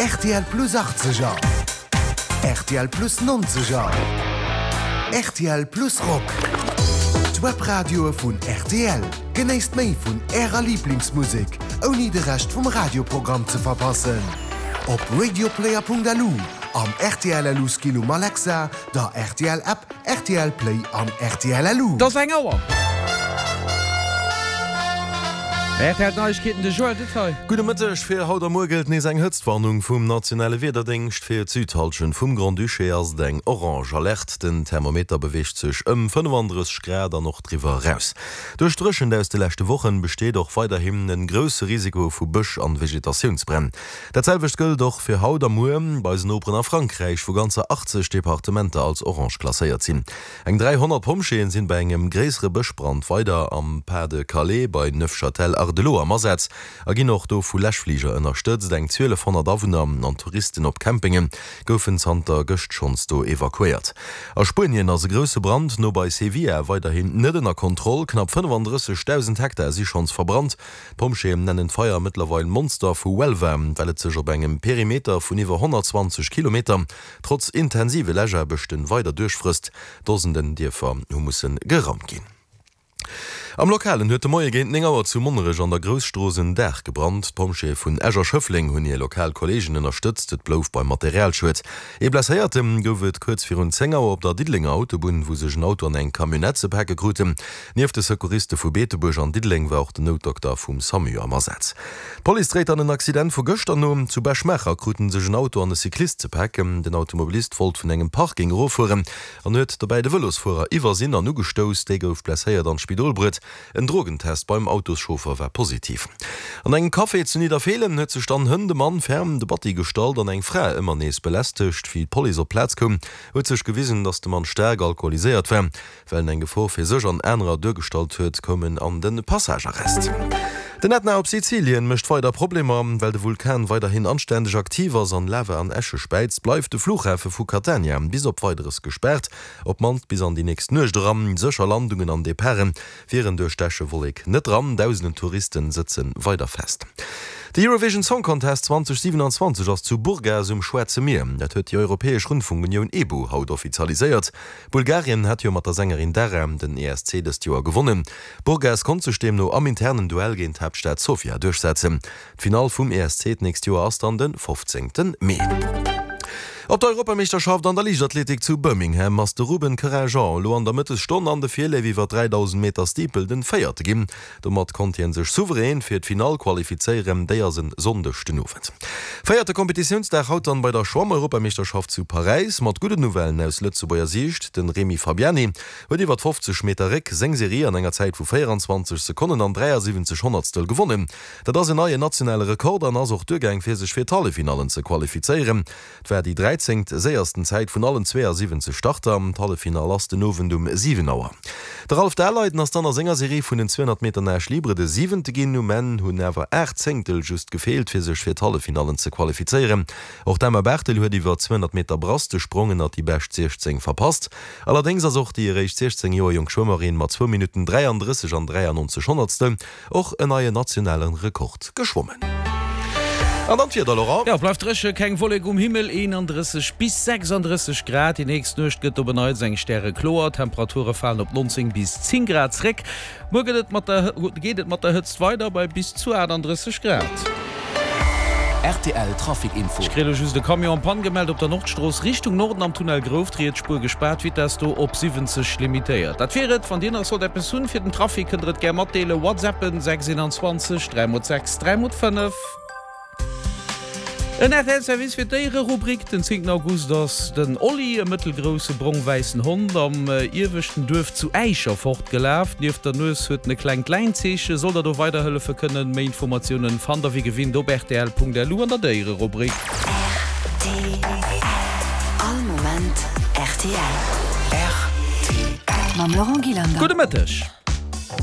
Rtl Plus Achtzeger, rtl Plus Nonzeger, rtl Plus Rock. D'Webradioe vun rtl. Genéisst méi vun Ärer Liblingsmusek, ouni de Rescht vum Radioprogramm ze verpassen. Op radioplayer.lu, am rtl LU Skill um Alexa, der rtl App, Rtl Play an rtl LU. Et ass eng Auer. Rtl Neiegkeeten, de Joël Detail. Gudde Mëtteg. Fir haut a muer gëllt nees eng Hëtztwarnung vum nationale Wiederdéngscht. Fir d'Südhallschent vum Grand-Duché ass et eng orange Alerte. Den Thermometer beweegt sech ëm 35 Grad an och driwwer eraus. Duerch d'Dréchent aus de leschte Wochen besteet och weiderhin en grousse Risiko vu Bësch an Vegetatiounsbränn. Dat selwecht gëllt och fir haut a muer bei eisen Noperen a Frankräich, wou ganzer 80 Departementer als orange klasséiert sinn. Eng 300 Pompjeeën sinn bei engem gréissere Bëschbrand weider am Pas-de-Calais bei Neufchâtel-Hardelot am Asaz a ginn och do vu Läschfliger ënnerstëtzt. Eng 1.200 Awunner an Touristen op Campinge goufen zanter gëscht schonns do evakuéiert. A Spuenien ass e grousse Brand no bei Sevilla weiderhin net ënner Kontroll. Knapp 35.000 Hektar si schonns verbrannt. D'Pompjeeën nennen d'Feier mëttlerweil Monster vu Huelva, well et sech op engem Perimeter vun iwwer 120 Kilometer trotz intensive Läschaarbechten weider duerchfrësst. Dosenden Dierfer hu musse geraumt ginn. Am Lokalen huet de Moie géint 9 Auer zu Monnerech an der Grousstrooss en Daach gebrannt. D'Pompjeeë vun Esch a Schëffleng hunn hir lokal Kolleegen ënnerstëtzt. Et blouf beim Materialschued. Ee Blesséierte gouf et kuerz virun 10 Auer op der Diddelenger Autobunn, wou sech en Auto an eng Camionnette ze pake kruten. Nieft de Secouriste vu Beetebuerg an Diddeleng war och den Noutdokter vum Samu am Asaz. D'Police dréit dann en Accident vu gëschter no. Zu Bech-Maacher kruten sech en Auto an e Cyclist ze paken. Den Automobilist wollt vun engem Parking eroffueren an huet dobäi de Vëlosfuerer iwwersinn an ugestouss. Dee gouf blesséiert an d'Spidol bruet. En Drogentest beim Autoschauffer war positiv. An engem Café zu Nidderfeelen huet sech dann hënt e Mann ferm de Batti gestallt an eng Fra ëmmer nees belästegt. Wéi d'Police op d'Plaz koum, huet sech gewisen, dass de Mann staark alkoholiséiert war. Well en eng Gefor fir sech an anerer duergestallt huet, koum en an de Passagearrest. Den Ätna op Sizilien mécht weider Problemer. Well de Vulkan weiderhin anständeg aktiv ass an Lava an Äsche späizt, bleift de Flughafe vu Catania bis op Weideres gespaart, op d'mannst bis an déi nächst Nuecht eran. Sécher Landungen an Departe wieren duerch d'Äschewollek net dran. Dausenden Touriste sëtze weider fest. De Eurovision Song Contest 2027 ass zu Burgas um Schwaarze Mier. Dat huet déi Europäesch Rundfunkunioun EBU haut offizialiséiert. Bulgarien hat jo mat der Sängerin Dara den ESC dëst Joer gewonnen. Burgas konnt sech deemno am internen Duell géint d'Haaptstad Sofia duerchsetzen. D'Finall vum ESC d'nächst Joer ass dann de 15 Mee. Op der Europameeschterschaft an der Liichtathletik zu Birmingham ass de Ruben Querinjean elo an der Mëttesstonn an de Virleef iwwer 3000 Meter Steeple den Véierte ginn. Domat konnt hien sech souverän fir d'Finall qualifizéieren, déi ass en Sonndeg den Owend. Véierte Kompetitiounsdag haut dann bei der Schwamm-Europameeschterschaft zu Paräis mat gudden Nouvellen aus Lëtzebuerger Siicht. Den Remy Fabiani huet iwwert 50 Meter Réck seng Serie an enger Zäit vu 24 Sekonnen an 73 Honnertstel gewonnen. Dat ass en neien nationale Rekord an ass och duergaang fir sech fir d'Halleffinallen ze qualifizéieren. Et war déi dräizéngt séiersten Zäit vun allen 72 Starter. D'Halleffinall ass den Owend um 7 Auer. De Ralph Daleiden ass dann a senger Serie vun den 200 Meter Nage libre de siwente ginn. Um Enn hunn awer 8 Zéngtel just gefeelt, fir sech fir d'Halleffinallen ze qualifizéieren. Och d'Emma Barthel huet iwwer 200 Meter Brass de Sprong ënnert déi bescht 16 verpasst. Allerdéngs ass och déi eréischt 16 Joer jonk Schwëmmerin mat zwou Minutten 33 an 93 Honnertstel Och en neien nationalen Rekord geschwommen. An dann d'Wieder, Laurent. Jo, bleift dréche, keng Wollek um Himmel, 31 bis 36 Grad. Déi nächst Nuecht gëtt op en Neits eng stärekloer, d'Temperature falen op 19 bis 10 Grad zréck. Muer gëtt et mat der geet et mat der Hëtzt weider bei bis zu 38 Grad. Rtl Trafic Info. Ech kréie lo just e Camion en panne gemellt op der Nordstrooss Richtung Norden am Tunnel Grouft, riets Spuer gespaart, Vitess do op 70 limitéiert. Dat wier et. Wann dir nach sollt eppes hunn fir den Trafic, kënnt der et gär matdeelen. Whatsappen 6 21 3 x 6 3 x 5. En rtl Service fir d'Déiererubrik, Den 10 August ass den Olli, e mëttelgrousse brong-wäissen Hond, am ieweschten Duerf zu Äischer fortgelaf. Nieft der Nues huet en e klengt Läinzeechen. Sollt der do weiderhëllefe kënnen, méi Informatiounen fannt der wéi gewinnt op rtl.lu an der Déiererubrik. Rtl, All Moment rtl. Rtl. Mam Laurent Gillander. Gudde Mëtteg.